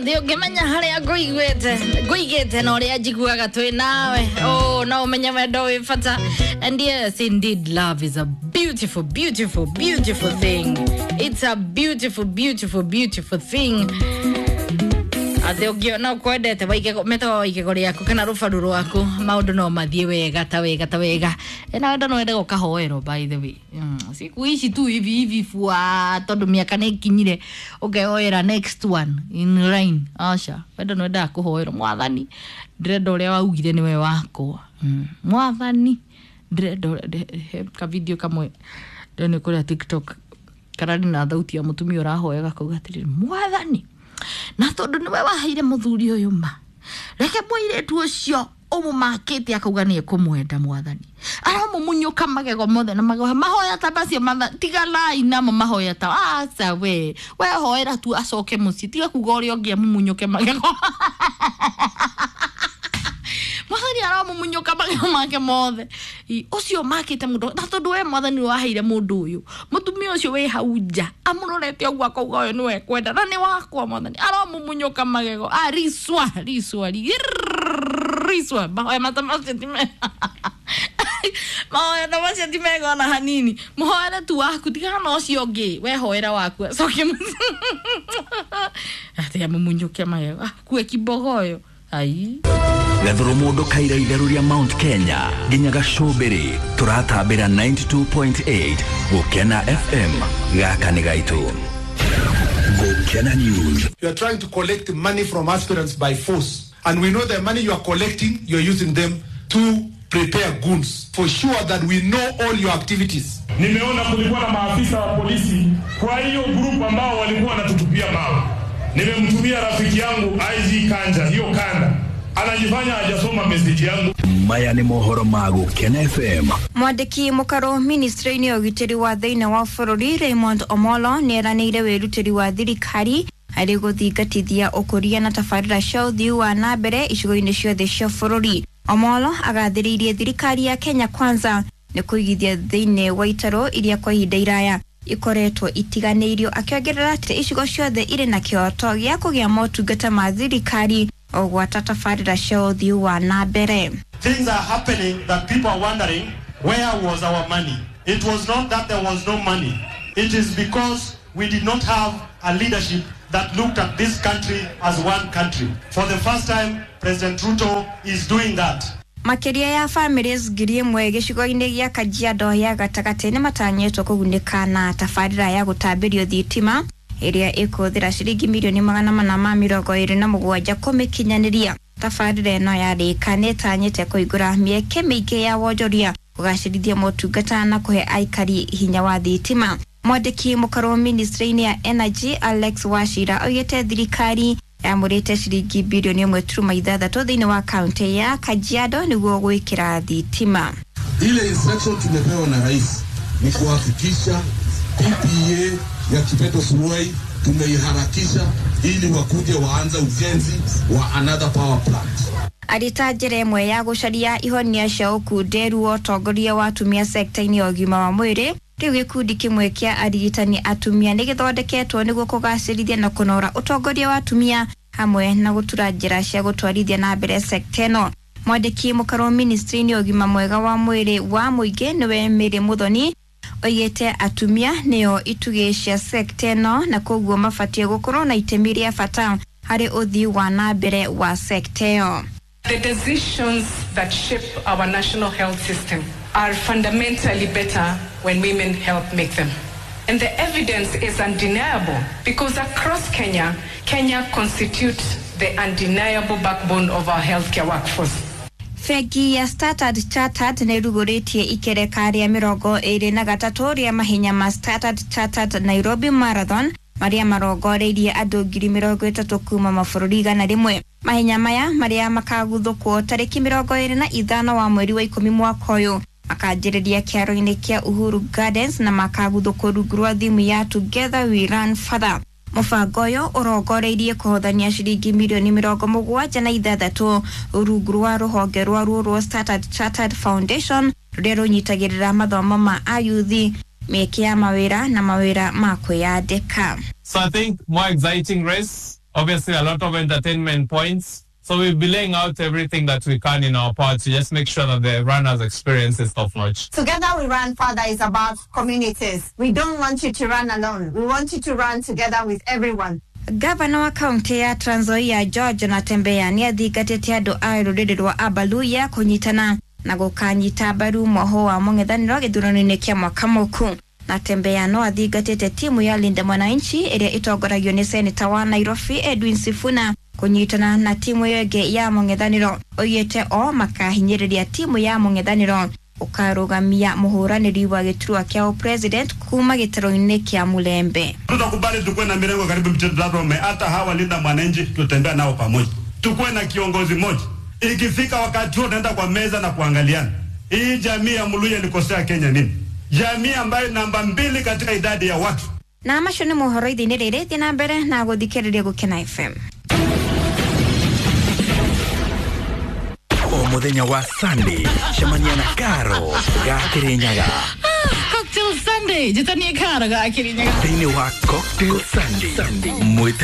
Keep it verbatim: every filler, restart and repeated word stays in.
Thĩ ũngĩmenya harĩa ngũiguĩte ngũigĩte na ũrĩa njiguaga twĩ nawe, oh, no ũmenye wendo wĩ bata. And yes, indeed, love is a beautiful, beautiful, beautiful thing. It's a beautiful, beautiful, beautiful thing. Atĩ ũngĩona ũkwendete metaga wa igego rĩaku kana rũbaru rwaku, maũndũ no mathiĩ wega ta wega ta wega. Na wendo no wende gũkahoerwo, by the way. mm. siku ici tu hivi hivi fua, tondũ mĩaka nĩ ĩkinyire ũkehoera next one in line. Aca, wendo no wendaga kũhoerwo. Mwathani, ndĩrenda ũrĩa waugire nĩwe wakwa. mm. Mwathani, ndĩrenda he ka video kamwe ndĩrona kũrĩa TikTok kararĩ na thauti ya mũtumia ũrahoyaga kauga atĩrĩrĩ, "Mwathani, na tondũ nĩwe waheire mũthuri ũyũ, ma reke mũirĩtu ũcio ũmũmakĩte akauga nĩ ekũmwenda, Mwathani aramũmunyũka magego mothe na magego." Mahoya ta macio tiganai namo. Mahoya ta aca, we we hoera tu acoke mũciĩ, tiga kuga ũrĩa ũngĩ amumunyũke magego. Mwathani aramumunyũka magego make mothe ũcio makĩte mũndũ, na tondũ we Mwathani waheire mũndũ ũyũ mũtumia ũcio wĩ hau nja amũrorete ũguo akauga ũyũ nĩwe kwenda na nĩ wakwa, Mwathani aramumunyũka magego. Ah, riswa riswa riswa, mahoya mata macio ti mega, mahoya ta macio ti mega ona hanini. Mũhoere tu waku, tigana na ũcio ũngĩ, we hoera waku acoke mũciĩ. Atĩ amumunyũke magego akue kibogoyo ai. Gathuru mundu kaira itheru ria Mount Kenya nginya gacumbiri, turatambira ninety-two point eight Gukena F M. Gaka ni gaitu, Gukena News. You are trying to collect money from aspirants by force, and we know the money you are collecting, you are using them to prepare goons. For sure that we know all your activities. Nimeona kulikuwa na maafisa wa polisi kwa hiyo group ambao walikuwa wanatutupia mawe. Nimemtumia rafiki yangu I G Kanja hiyo kanda, anajifanya hajasoma message yangu. Maya nĩ mohoro ma Gukena F M. Mwandĩki mũkaro ministry-inĩ ya ũgitĩri wa thĩinĩ wa bũrũri Raymond Omolo nĩ eranĩire wĩrutĩri wa thirikari harĩ gũthingatithia ũkũria na tabarĩra cia ũthii wa na mbere icigo-inĩ ciothe cia bũrũri. Omolo agathĩrĩirie thirikari ya Kenya Kwanza nĩ kũigithia thĩinĩ wa itarũ iria kwa ihinda iraya ikoretwo itiganĩirio, akĩongerera atĩ icigo ciothe irĩ na kĩhoto gĩa kũgĩa motungata ma thirikari o gwata tabarĩra cia ũthii wa na mbere. Things are happening that people are wondering, where was our money? It was not that there was no money. It is because we did not have a leadership that looked at this country as one country. For the first time, President Ruto is doing that. Makĩria ya families ngiri ĩmwe gĩcigo-inĩ gĩa Kajiado ya gatagatĩ nĩ matanyĩtwo kũgunĩka na tabarĩra ya gũtambĩrio thitima ĩrĩa ĩkũhũthĩra ciringi mirioni magana mana ma mĩrongo ĩrĩ na mũgwanja kũmĩkinyanĩria. Tabarĩra ĩno yarĩka nĩ ĩtanyĩte kũhingũra mĩeke mĩingĩ ya wonjoria, kũgacĩrithia motungata na kũhe aikari hinya wa thitima. Mwandĩki mũkarwo ministry-inĩ ya energy Alex Wachira oigĩte thirikari yamũrĩte ciringi birioni ĩmwe turuma ithathatũ thĩinĩ wa kaunti ya Kajiado nĩguo gwĩkĩra thitima. Ile instruction tumepewa na rais ni kuhakikisha P P A ya Kipeto Suruai tumeiharakisha ili wakuje waanze ujenzi wa another power plant. Arĩ njĩra ĩmwe ya gũcaria ihonia cia ũkunderu wa ũtongoria wa atumia sekta-inĩ ya ũgima wa mwĩrĩ, rĩu gĩkundi kĩmwe kĩa arigitani atumia nĩ gĩthondeketwo nĩguo kũgacĩrithia na kũnora ũtongoria wa atumia hamwe na gũtura njĩra cia gũtwarithia na mbere sekta ĩno. Mwandĩki mũkarwo ministry-inĩ ya ũgima mwega wa mwĩrĩ wa mũingĩ nĩwe Mary Muthoni oigĩte atumia nĩo itugĩ cia sekta ĩno na koguo mabatiĩ gũkorwo na itemi rĩa bata harĩ ũthii wa na mbere wa sekta ĩyo. The decisions that shape our national health system are fundamentally better when women help make them. And the evidence is undeniable because across Kenya, Kenya constitutes the undeniable backbone of our healthcare workforce. Bengi ya Standard Chartered nĩ ĩrugũrĩtie ikereka rĩa mĩrongo ĩrĩ na gatatũ rĩa mahenya ma Standard Chartered Nairobi Marathon marĩa marongoreirie andũ ngiri mĩrongo ĩtatũ kuma mabũrũri igana rĩmwe. Mahenya maya marĩa makaguthũkwo tarĩki mĩrongo ĩrĩ na ithano wa mweri wa ikũmi mwaka ũyũ makanjĩrĩria kĩaro-inĩ kĩa Uhuru Gardens na makaguthũkwo rungu rwa thimu ya "Together We Run Further". Mũbango ũyũ ũrongoreirie kũhothania ciringi mirioni mĩrongo mũgwanja na ithathatũ rungu rwa rũhonge rwa ruo rwa Standard Chartered Foundation rũrĩa rũnyitagĩrĩra mathomo ma ayuthi, mĩeke ya mawĩra na mawĩra ma kwĩyandĩka. So I think more exciting race. Obviously, a lot of entertainment points. So we'll be laying out everything that we can in our part to just make sure that the runners' experience is top notch. Together We Run, Father, is about communities. We don't want you to run alone. We want you to run together with everyone. Gavana wa kaunti ya Trans Nzoia George Natembeya nĩ athingatĩte andũ a rũrĩrĩ rwa Abaluya kũnyitana na gũkanyita mbaru mwaho wa mũng'ethanĩro gĩthurano-inĩ kĩa mwaka mũku. Natembeya no athingatĩte timu ya Linda Mwananchi ĩrĩa ĩtongoragio nĩ seneta wa Nairobi Edwin Sifuna kũnyitana na timu ĩyo ĩngĩ ya mũng'ethanĩro. Oigĩte o makahinyĩrĩria timu ya mũng'ethanĩro ũkarũgamia mũhũranĩri wa gĩturwa kĩa president kuma gĩtarũ-inĩ kĩa Mulembe. Tutakubali tukuwe na mirengo karibu mitatu, hata hawa Linda Mwananchi tutembea nao pamoja, tukuwe na kiongozi mmoja. Ikifika wakati huo tunaenda kwa meza na kuangaliana, hii jamii ya Mluya ilikosea Kenya nini? Jamii ambayo namba mbili katika idadi ya watu. Na macio nĩ mohoro ithe-inĩ rĩrĩ, thiĩ na mbere na gũthikĩrĩria Gũkena F M. O muthenya wa Sunday cemania na Karo ga Kirinyaga. Cocktail Sunday, njĩtanie Karo ga Kirinyaga thĩinĩ wa Cocktail Sunday.